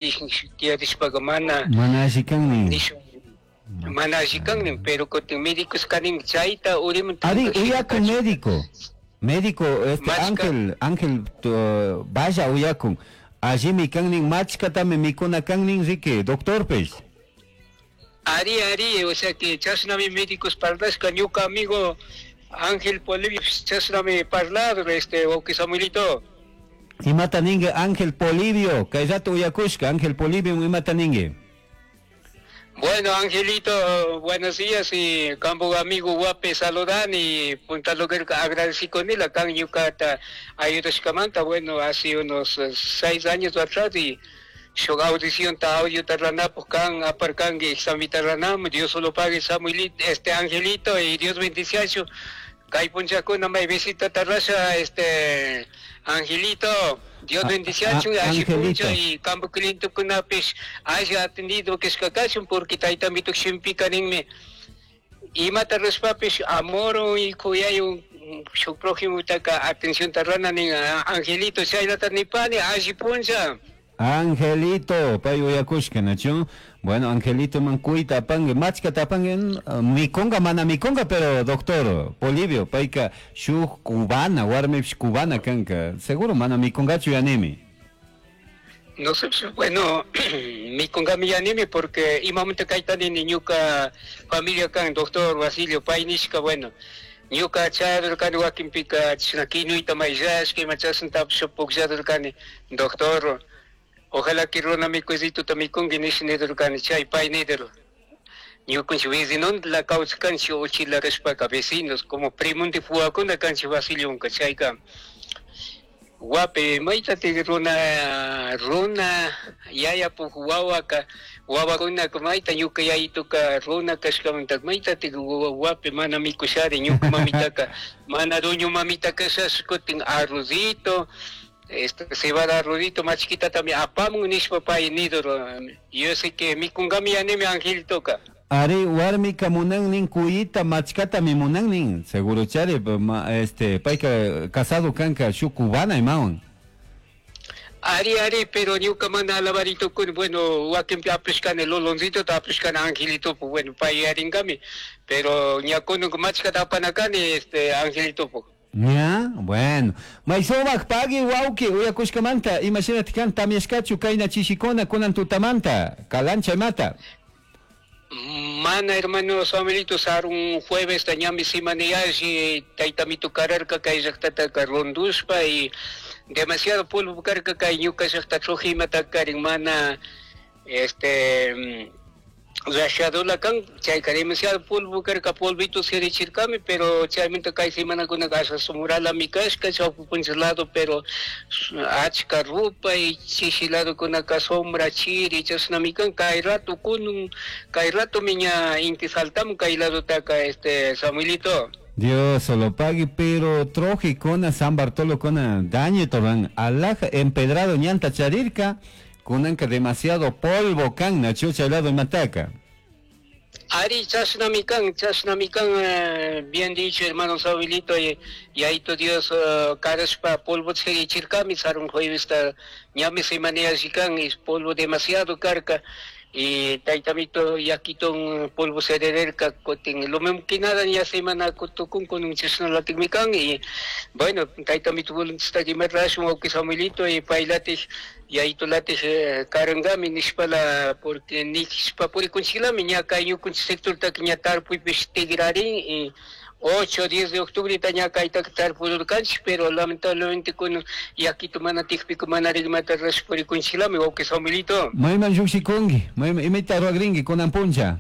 Tiyarishpaca mana Mana alli kan nin. Nishun mana alli kan nin, pero kutin médicos kanin chayta urimun Ari, uyakun médico. Médico, este Machka. Ángel, Ángel vaya uyakun. Allimi kan nin, machkatami mikuna kan nin, riki, doctorpish. Ari, ari, o sea que chashnami médicos parlashka, ñuka amigo Ángel Polivio chashnami parlar, este, wawki Samuelito. Imata ningi Ángel Polivio, kay rato uyakushka, Ángel Polivio imata ningi. Bueno, Angelito, buenos días y campo amigo guape saludan y punta lo que agradecí con él acá en Yucata ayudashkamanta, bueno, hace unos 6 años atrás y yo audición ta audio tarranapo kan aparcan examitarranam, Dios solo pague Samuelito, este Angelito y Dios bendice Kay punchakuna may visita tarrasha, este Angelito, Dios bendice Angelito. puncha y campo cliente kunapish haya atendido que es porque tayta mituk shimpika ninmi imata rushpapish amor y kuyay shuk prójimo taka atención tarrana nin Angelito chaylata nipani alli puncha. Angelito, pay uyakushka, nachu. Bueno, Angelito man kuyta apangi, machkata apangi, mikunga, mana mikunga, pero doctor Polivio, payka shuk cubana, warmipish cubana kanka, seguro mana mikungachu yanimi. No sé, pues, bueno, mikungami yanimi porque imamanta kayta nini ñuka familia kan doctor Basilio pay nishka, bueno, ñuka chayadurkani wakinpika chashna kinuyta mayllashka ima chashnatapish puklladurkani, doctor, ojalá que runa mikuycituta mikunki nish nidurkani, chay pay nidur. Ñukanchik vecinontla kawsaskanchik uchila rishpaka vecinos, como primonti fuwakuna kanchik Basilionka, chayka guape maytatik runa, runa yayapuk wawaka, wawakunaka mayta ñuka yayituka runa kashkamanta maytatik guape mana mikushari ñuka mamitaka, mana dueño mamita kashash kutin arrozito, este cebada arrozito machkitatami apamun nishpa pay nidur. Yo sé que mikungami yanimi Angelitoka. Ari, warmika munannin kuyita machkatami munannin, seguro chari, ma, este, payka casado kanka shuk cubana imawan. Ari, ari, pero ñuka mana alabarito kun, bueno, wakinpi apishkani loloncito ta apishkani Angelito, pues, bueno, pay yaringami, pero ñakunuk machkata apanakani, este, Angelito, pues. Ya, bueno. Maysumaq pagui wawqi uyakushkamanta, imashinataq kan tamyashkachu kayna chishikuna kunan tutamanta, kalancha imata. Mana hermano Samuelito, sarun jueves ñami simaniyashi taytamito kararka kay llaqtataka ronduspa y demasiado polvo karka kay ñuka llaqta trujimata karin mana este rashadula kan chayka demasiado polvo karka polvito sirichirkami, pero chaymanta kay semanakunaka asha sumuralami kashka chawpi puncha lado, pero achka rupay chishi ladokunaka sombra chiri chashnami kan kay rato kunun kay rato miña inti saltamun kay ladotaka este Samuelito. Dios lo pague, pero troje con San Bartolo con daño toran alaja empedrado ñanta charirka kunanka demasiado polvo kan nachucha lado mataca. Ari, chashnami kan, chashnami kan, bien dicho hermano Samuelito, y ahí tu Dios, karashpa polvo chirichirkami, sarun juevesta ñami semaneashikan, es polvo demasiado carca, y taytamito yaquiton polvo serererka, kotin, lo mismo que nada ya semana kutukun con un chashnalatikmikan, y bueno, taytamito voluntastakimerrashun, wawqi Samuelito, y paylatij, y ahí tu latij, karangami nishpala, porque nishpa purikunchilami, ña kay ñukunchik sector taki ña tarpuypish tigrarin, y 8 o 10 de octubre ña kayta tarpururkanchik, pero lamentablemente kun yakito mana tikpiku mana rigmata rash purikunchilami, wawqi Samuelito. Mayman lluqshikunki, mayman imata ruwakrinki kunan puncha.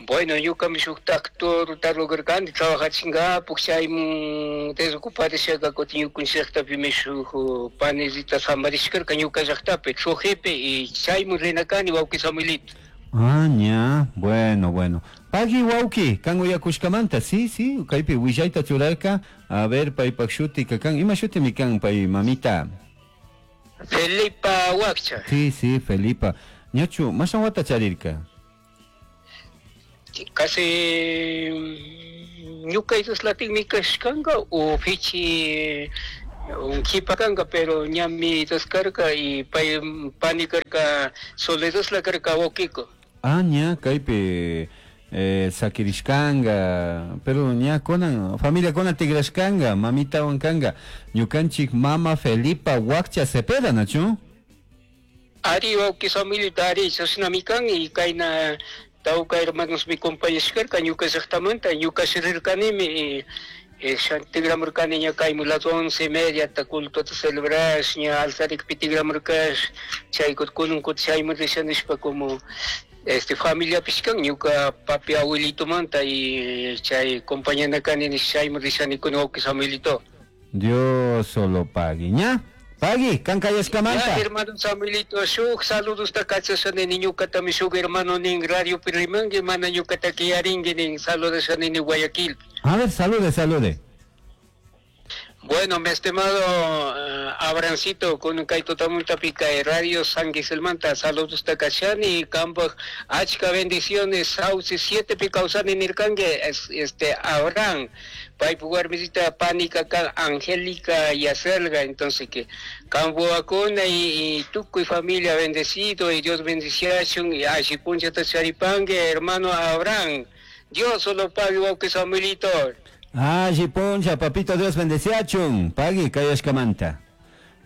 Bueno, ñukami shuk tractor tarugurkani trabajachinkapak, chaymun desocuparishaka kutin ñukanchik llaqtapimi shuk panecita samarishkarka ñuka llaqtapi, Trojepe, y chaymun rinakani wawqi Samuelito. Ah, ña, bueno, bueno. Pagui wawqi, kan uyakushkamanta, sí, sí, kaypi willayta churarka, a ver, paypak shutika kan, ima shutimi kan pay mamita? Felipa Huaccha. Sí, sí, Felipa. Ñachu, mashan wata charirka? Casi ñuka islatikmi kashkanka o fichi Un kipakanga, pero ñami taskarka y pay pani karka Soledad karka wawkiko. Ah, ña kaypi sakirishkanga, pero ña kunan familia kuna tigrashkanga, mamitawan kanga. Ñukanchik mama Felipa Huaccha Cepeda, nachu? Ari wawki Samuelito, ari chashnami kan y kayna tawka hermanos mi compañashkarka ñuka llaktamanta, ñuka rirkanimi tigramurkani ña kaymu las 11:30 ta culto celebrash, ña altarikpi tigramurkash, chay kunan kutin chayman risha nishpa como familiapish kan ñuka papi abuelitomanta y chay compañana kani nish chayman rishani kun wawki Samuelito. Dios solo pagui, ña? Pagui, kan kayashkamanta. Ya, hermano Samuelito, shuk saludos ta kachashani ni ñukatami shuk hermano nin radio rimangi, mana ñukata kiyaringi nin saludashani ni Guayaquil. A ver, salude, salude. Bueno, mi estimado Abrancito, con Kaito Tamulta Pica Radio San Giselmanta, saludos takachani, Campo, achka bendiciones, Sauce 7 picausani nirkangue, Abraham, Paipu Guarmisita, Pánica, Angélica y Acelga, entonces que Campo Acuna y Tuco y familia bendecido, y Dios bendiciachun, y Ashipuncha Tacharipangue, hermano Abraham, Dios solo pague, que Samuelito. Ah, poncha, papito Dios bendeciachun. Pagui, kayashkamanta.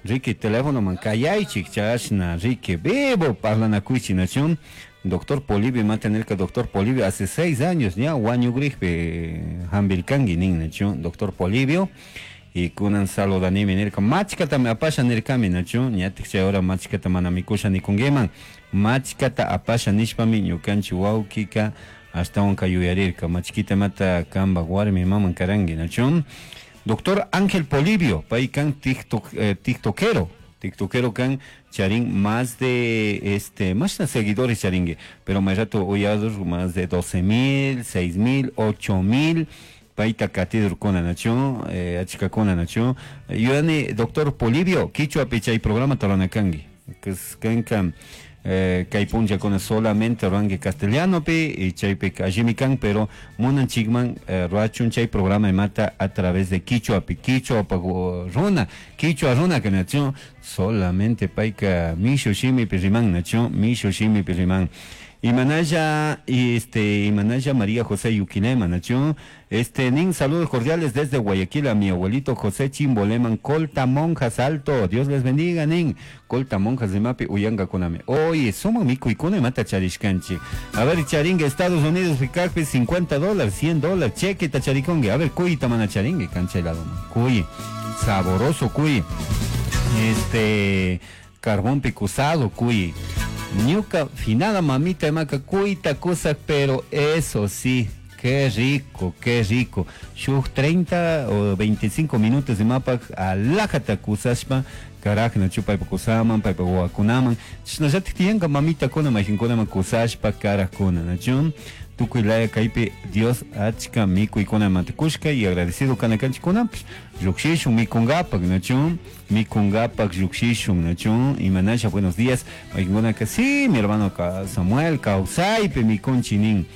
Ricky, teléfono man kayaychik, chashna, Ricky, vivo, parlanakuichi, nachun. Doctor Polibio, mantener que doctor Polibio hace 6 años, ya, wañugrigpi, hambilkangi, nin, nachun, doctor Polibio. Y kunan saludanimi nirka, machkata me apasha nirkami, nachun, ñatik chay hora machkata mana mikusha nikunguiman. Machkata apasha nishpami, ñukanchi wawkika, ashtawanka yuyarirka, machkita mata kamba warmi maman karangi, nachun. Doctor Ángel Polibio, pay kan tiktokero, tiktokero kan charin más de, más de seguidores charingue, pero más rato oyados más de 12,000, 6,000, 8,000, paita katidur kona nachun, achika kona nachun. Yuyani, doctor Polibio, kichwa pichay programa toranakangi, kanka kay punlla con solamente ruangue castellano pi y chaypi allimikan, pero munan chigman ruachun chay programa mata a través de quichua pi, quichua pa runa, quichua runa que nación solamente paika mishu shimi pi riman nación, mishu shimi pi riman. Y manaya, y manaya María José Yuquilema, nación, nin saludos cordiales desde Guayaquil a mi abuelito José Chimboleman, Colta Monjas Alto, Dios les bendiga, nin, Colta Monjas de Mapi, Uyanga Koname. Oye, somos mi cuicone mata charishkanchi. A ver, charingue, Estados Unidos, Ficacpi, $50, $100, cheque tacharicongue. A ver, cuy tamana charingue, canchelado, cuy, saboroso cuy, carbón picusado, cuy. Ñuca finada mamita maca cuita cosa, pero eso sí, qué rico, qué rico. Shuj 30 o 25 minutos de mapa alajata kusashpa, caraj na chupa kusaman, pa guakunaman. Chnallati tiyanka mamita kuna majinkuna kusashpa caraj kuna, nachun. Tukuy laya kaypi Dios achka mikuykuna mantikushka y agradecido kanakanchikuna, llukshishun mikungapak, nachun, mikungapak llukshishun, nachun. Y manasha, buenos días. Majinkuna que sí, mi hermano Samuel, kawsaypi mikunchinin.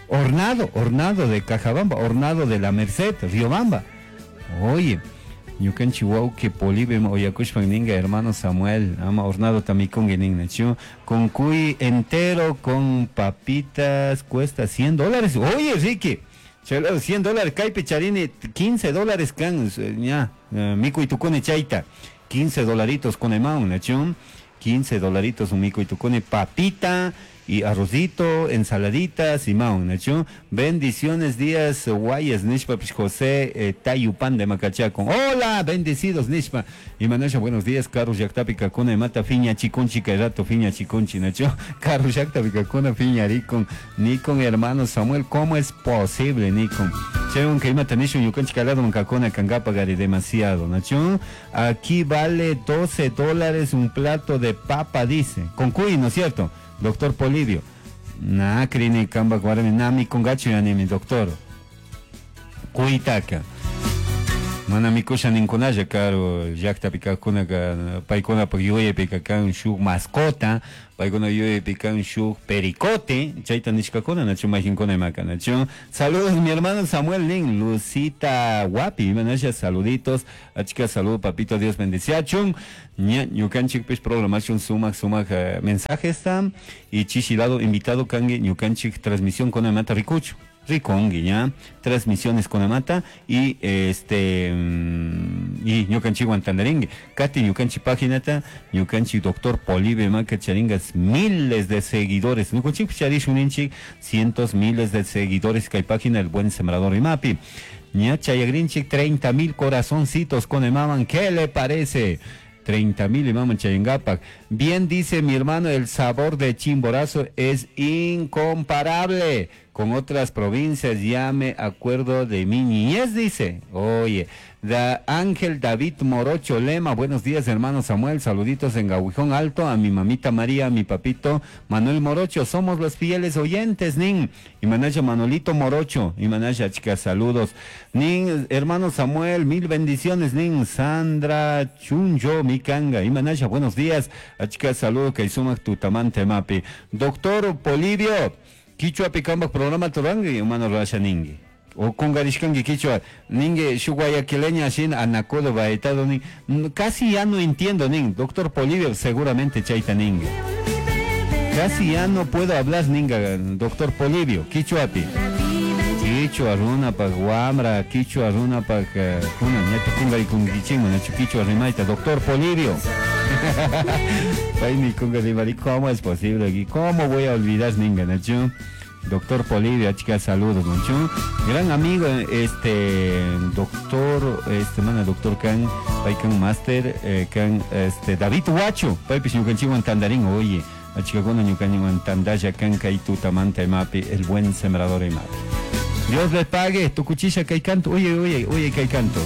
Hornado, hornado de Cajabamba, hornado de la Merced, Riobamba. Oye, ñukanchi wawqi Polibio oyakushpan ninga hermano Samuel, ama hornado tamikungi nin, nachu, con cuy entero, con papitas, cuesta $100. Oye, Ricky, chelado, $100, kaypi charini, $15 kan, ña, mikuy tukuni chayta, 15 dolaritos con emaun, nachu, 15 dolaritos un mikuy tukuni, papita y arrocito, ensaladitas y maun, nachu. Bendiciones, días guayas, nishpa, pues, José, Tayupan de Macachaco. Hola, bendecidos, nishpa. Y manasha, buenos días, Carlos Yactapi, Cacuna, y Mata, Fiña, Chiconchi, Cairato, Fiña, Chiconchi, nachu. Carlos Yactapi, Cacuna, Fiña, Ricon, Nikon, hermano Samuel, ¿cómo es posible, Nikon? Che, un que imata nishu, yukanchi, calado, mancacona, cangapa, gari, demasiado, nachu. Aquí vale $12 un plato de papa, dice. Con cuy, ¿no es cierto? Doctor Polibio. Na, crini, kamba, guarami, na, mi congacho, ya ni mi doctor. Cuitaca. Mana mikusha ninkunalla karu llaktapi kaqkunaka paykunapak yuyaypika kan shuk mascota, paykuna yuyaypi kan shuk pericote, chayta nishkakuna nachu mayqinkuna imaka nachu. Saludos mi hermano Samuel nin, Lucita Wapi, imanasha saluditos, achka saludo papito Dios bendiciachun. Ña ñukanchikpish programación sumak sumak mensajesta y chishilado invitado kanki ñukanchik transmisión kunamanta rikuchu. Rikunki ña transmisiones kunamanta y este y ñukanchikwan tantarinki kati ñukanchik paginata ñukanchik doctor Polibio imaka charingas miles de seguidores ñukanchikpish charishun ninchik cientos miles de seguidores kay página El Buen Sembrador imapi ña chayagrinchik 30,000 corazoncitos con imaman. ¿Qué le parece? 30,000 imaman chayangapak. Bien dice mi hermano, el sabor de Chimborazo es incomparable con otras provincias, ya me acuerdo de mi niñez, dice. Oye, da Ángel David Morocho Lema, buenos días hermano Samuel, saluditos en Gahuijón Alto, a mi mamita María, a mi papito Manuel Morocho, somos los fieles oyentes, nin. Y manaya Manolito Morocho, y manaya chicas, saludos. Nin, hermano Samuel, mil bendiciones, nin. Sandra Chunjo, mi canga, y manaya, buenos días, a chicas, saludos, que sumak tutamante mapi. Doctor Polibio, Quichua pikambak programa turangi, humano rasha ningi. O kungarishkangi quichua, ningi shuk guayaquileña shin anacodo baetado nin. Casi ya no entiendo nin, doctor Polibio seguramente chaita ningi. Casi ya no puedo hablar ninga, doctor Polibio, quichuapi. Quichua runa pak wamra, quichua runa pak kuna, ñata kungarikunkichikman, nachu quichua rimayta, doctor Polibio. Paymi kungarimari, ¿cómo es posible? ¿Cómo voy a olvidar ninga, nachu? Doctor Polibio, chica, saludos, nachu. Gran amigo, este, doctor, este, mana, doctor kan, paykan master, kan, este, David Huacho, paypis ñukanchikwan tandarín, oye, achikakuna ñukanchikwan tandalla kan kay tutamanta imapi, el buen sembrador imapi. Dios le pague, tu cuchilla kay canto, oye, oye, oye, kay canto.